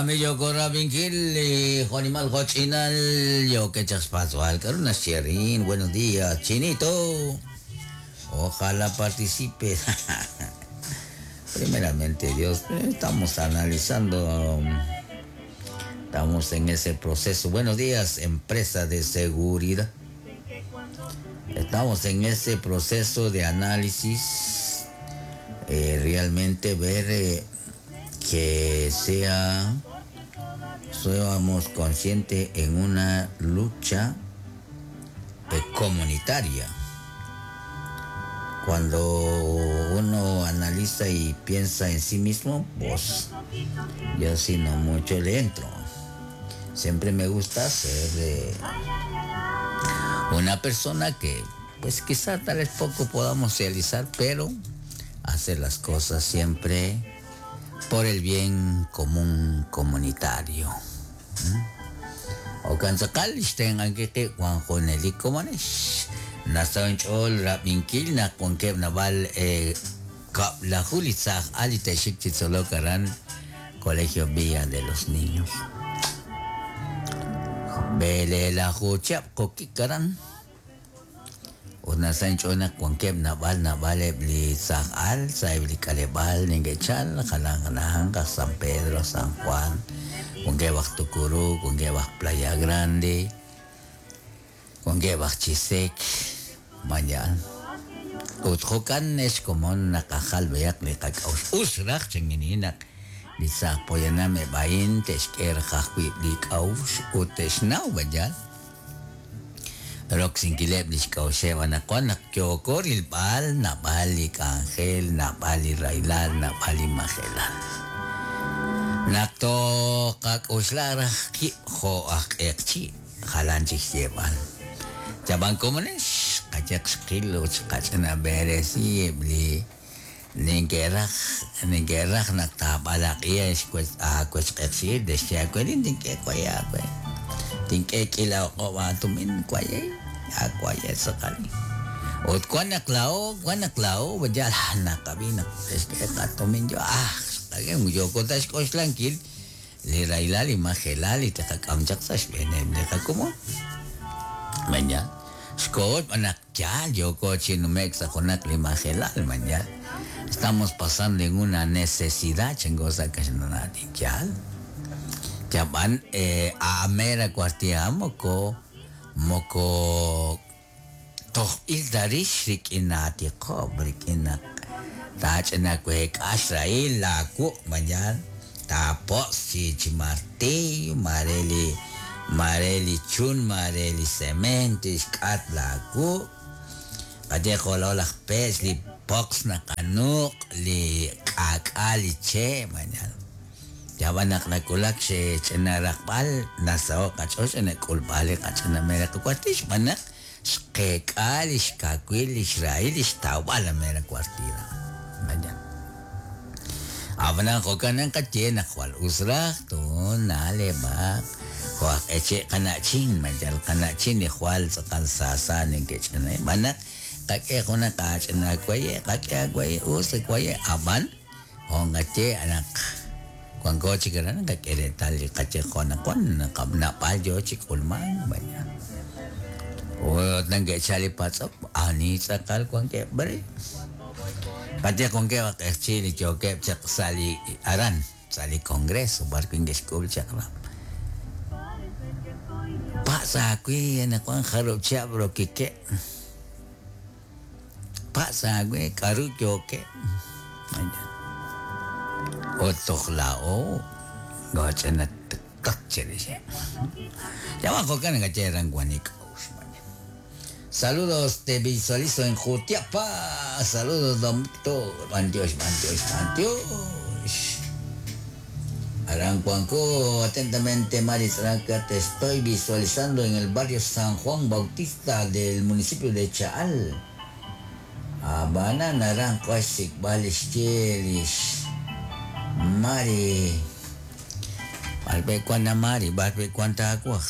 Yoko rabinkil li jo'nimal jo'ch'inal yookeb' chaq xpatz'b'al k'aru naxye arin. Buenos días, Chinito. Ojalá participe. Primeramente, Dios, estamos analizando, estamos en ese proceso. Buenos días, empresa de seguridad. Estamos en ese proceso de análisis, realmente ver que sea, seamos conscientes en una lucha comunitaria. Cuando uno analiza y piensa en sí mismo, pues yo sí no mucho le entro. Siempre me gusta ser una persona que, pues quizá tal vez poco podamos realizar, pero hacer las cosas siempre por el bien común comunitario. Okan sakal ixtenqankiqi Juan Jonelik komonex nasaw inch'ool rab'inkil naq wankeb' nab'al kab'laju li tzaj al li te'xik chi tzolok aran Colegio Villa de los Niños. B'eleelaju chihab' qokik aran ut nasaw inch'ool naq wankeb' nab'al nab'al eb' li tzaj al sa'eb' li k'aleb'aal neke'chal jalan jalan aj San Pedro, San Juan, wankeb' aj Tucurú, wankeb' aj Playa Grande, wankeb' aj Chisec, mañan. Ut jo'kan ex komon naqajal b'ayaq li qak'a'uxl. Us raj chankininaq li tzaj poyanam eb' a'in te'xk'e raj ajwi' li k'a'uxl ut te'xnaw b'ayal. Roksinkileb' li xk'a'uxeb' anaqwan naq yooko rilb'al nab'al li k'anjel, nab'al li raylal, nab'al li majelal. Naq toqak'uxla raj qib' jo' aj q'eqchi' jalan chik xyeeb'al. Chab'an komonex qayaq xqil ut xqach'ina b'eresi eb' li ninke'raj naq taab'alaq'i aawechq'eqchi'il texye aawe tink'e waye aawe. Tink'e k'ila oq'ob' aatumin waye aawaye tz'aqal. Ut wan naq laa'o yal naqab'i naq texk'e qatumin yo yooko ta xk'oxlankil li raylal li majelal li teqak'am chaq sa' xb'eeneb' li qakomon. Mañan xko'ot b'an naq yaal yooko chi nume'k sa' junaq li majelal mañan. Estamos pasando en una necesidad chango sa' kaxlanati yaal. Yab'an amera kuartia moko moko tojb'il tarix rik'in atiqob' rik'in taach'ina week'ax ra'il laawu' mañan tapo's chi chi martillo mare li chun mare li cemento xk'at laawu' qate jolo laj pech li pox naqanuq li k'ak'a li che mañan. Yab'an naq nakulak xech'ina raqb'al nasaho' qach'och' nak'ulb'al li qach'ina mera qakuartix b'an naq xqeek'a li xkawil li xrahil li xtawb'al la mera kuartida. Mañan. Ab'anan jo'kan qaye naq jwal us raj tun na'leb'aq jo'aj q'eche' qana'chin mayal qana'chin li jwal tz'aqal saasa neke'ch'ina b'an naq qak'e junaq aach'ina waye qak'e awaye us waye ab'an jonqaye naq wanko chik aran qak'e reetal li qaye jo'naqwan nab'al yo chi k'ulman mañan. Ut nanke'chal li patz'ok ani tz'aqal wankeb' b'are. Qate wankeb' aj q'eqchi' li yookeb' chaq sa' li aran sa' li congreso b'ar wi' nke'xk'ul chaq'rab'. Pa'sa aawi anaqwan jarub' chihab' rokikeb'. Pa'sa aawi k'aru yookeb'. Ut toj laa'o goch'ina tat chirix. Yawan jo'kan naqaye aran wanik k'a'uxl. Saludos, te visualizo en Jutiapa. Saludos, don Víctor. Bantiosh, bantiosh, bantiosh. Aran Cuanco, atentamente, Maris Ranca, te estoy visualizando en el barrio San Juan Bautista del municipio de Chaal. Habana, Naranjo, Asik, Balish, Mari. Barbe cuanta Mari, barbe cuanta agua.